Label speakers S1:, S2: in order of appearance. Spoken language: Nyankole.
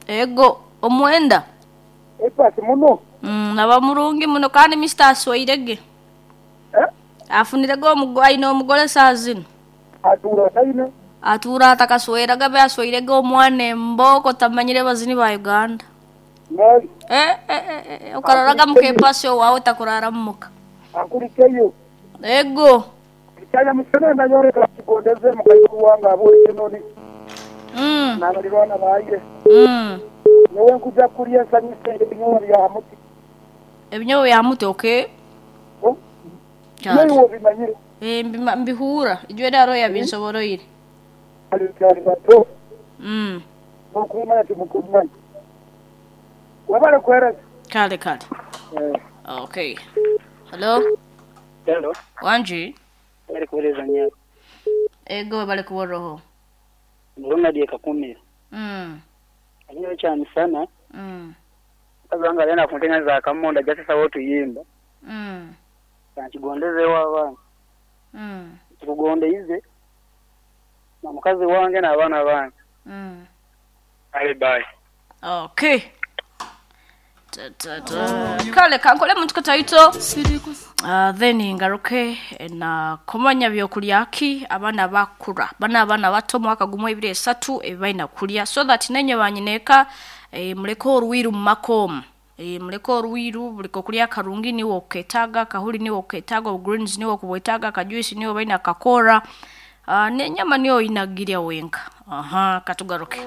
S1: Ego, omwenda?
S2: Epasi muno.
S1: Mm, aba murungi muno kandi Mister asweire ghe.
S2: Eh?
S1: Afunire ghe omugo, aine omugole saaha zino.
S2: Atuura ataine?
S1: Atuura atakasweraga abe asweire ghe omwana embooko tamanyire bazini ba Uganda.
S2: Nari?
S1: Eh, eh, eh, eh, okaroraga muka epasi owaawe takurara mu muka.
S2: Akurikeyo.
S1: Ego.
S2: Ekyanya musana nayoreka kigondeze mukaikuru wange ab'owe Kenoni
S1: Mm.
S2: n'abalirwana baye.
S1: Mm.
S2: Nyowe nkuja kulya ensanyuse ebinyowa bya ha muti.
S1: Ebinyowa bya ha muti, okay.
S2: Oh,
S1: Kyali.
S2: Iwe obimanyire.
S1: Eh, mbima, mbihuura. Ijweri hariho yabinsoboroire.
S2: Kale tukyali bato.
S1: Mm.
S2: N'okumanya timukumanya. Webale kuhereza.
S1: Kale kale.
S2: Eh.
S1: Okay. Hello.
S3: Hello.
S1: Wangi.
S3: Webale kuwereza nyabo.
S1: Ego webale kuba oroho.
S3: Ndi Ronald e Kakumiro.
S1: Mm.
S3: Ekinyowe kya misana.
S1: Mm.
S3: Mukazi wange alina kuntengeza akamondo aja sisawo otuyimba. Kankigondeze ewa abaana. Nkikugondeize na mukazi wange n'abaana bange. Aye bye.
S1: Okay. Ta, ta, ta. Kale kankole muntu kataito. Then ngaruke na kumanya byokulya ki abaana bakura. Bana abaana bato mwaka gumwe ebiri esatu ebibaina kulya so that nenye banyineka muleke oruwiru mu makomu. Muleke oruwiru buli kokulya karungi niwe oketaaga, kahuli niwe oketaaga, greens niwe okubwetaaga, kajuice niwe baina kakora. N'enyama niyo oyinagirya wenka. Aha, katugaruke.